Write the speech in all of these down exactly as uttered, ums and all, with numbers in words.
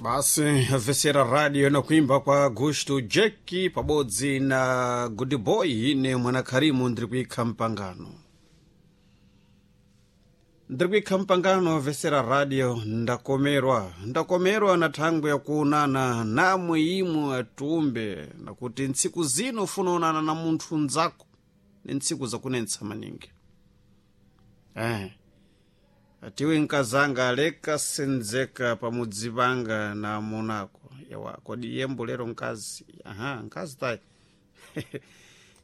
Basi vesera radio na kuimba kwa Gusto Jeki pabodzi na Good Boy ine mwana Karimu ndiri kuikha mpangano ndiri kuikha mpangano vesera radio. Ndakomerwa, ndakomerwa na thangwe yakuonana namwe imwe atumbe, nakuti ntsiku zino ufuna onana na munthu nzako ni ntsiku zakunetsa maningi eh. Atiwe nkazanga aleka senzeka pamudzi panga na amunako yawa kodi yembo lero nkazi aha nkazi tayi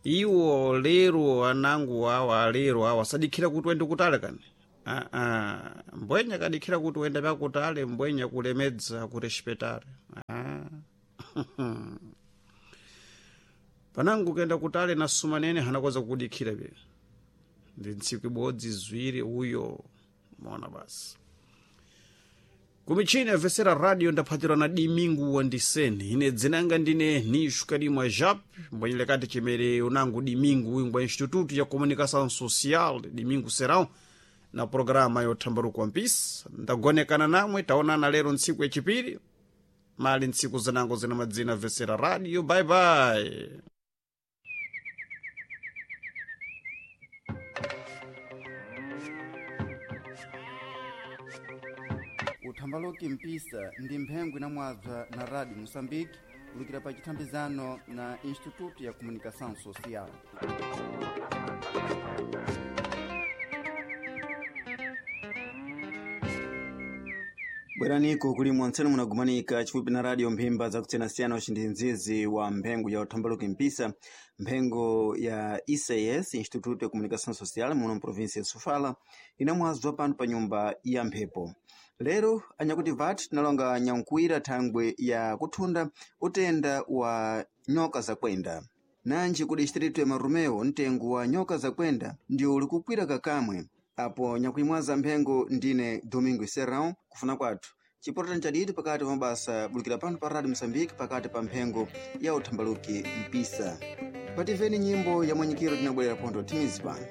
iwo lero anangu awa alero awa sadikhira kuti wende kutale kani aa mbwenya kadikhira kuti wende pakutale mbwenya kulemedza kurespetare ah. Panangu kenda kutale na sumanene hanakoza kukudikhira pye ndi ntsiku ibodzi ziwiri uyo mona basi kumichini avesera radio ndaphatirwa na Dimingu Wandiseni. Ine dzinanga ndine Nishu Kalimwa Jap mbwenyelekati chimere unangu Dimingu wingwa Instituto ya Comunicação Social Dimingu Serão na programa yothambaruka mpisa. Ndagonekana namwe taonana lero ntsiku yachipiri mali ntsiku zinango zina madzina vesera radio. Bye bye. Uthambaloki mpisa ndi mphengo inamwabza na Radio Moçambique kulukira pa chithambizano na Instituto ya Comunicação Social. Bweraniko kuli mwantsene munagumanika chifupi na radio mphimba zakutsiyanasiyana uci ndi wa mphengo ya uthambaluki mpisa, mphengo ya I C S, Instituto ya Comunicação Social muno mprovinsia ya Sofala, inamwazwa pano pa nyumba ya mphepo. Lero anyakuti vat tinalonga nyankuwira thangwe ya kuthunda utenda wa nyoka zakwenda. Nanji ku distritu ya Marumeo mtengo wa nyoka zakwenda ndio ulikukwira kakamwe. Apo nyakuimwaza mphengo ndine Domingo Serrão kufuna kwathu chipotera nchadidi pakati pa mabasa bulukira pano pa Radio Moçambique pakati pa mphengo ya uthambaluki mpisa. Pativeni nyimbo ya mwanyikiro tinabwerera pontho timizi pano.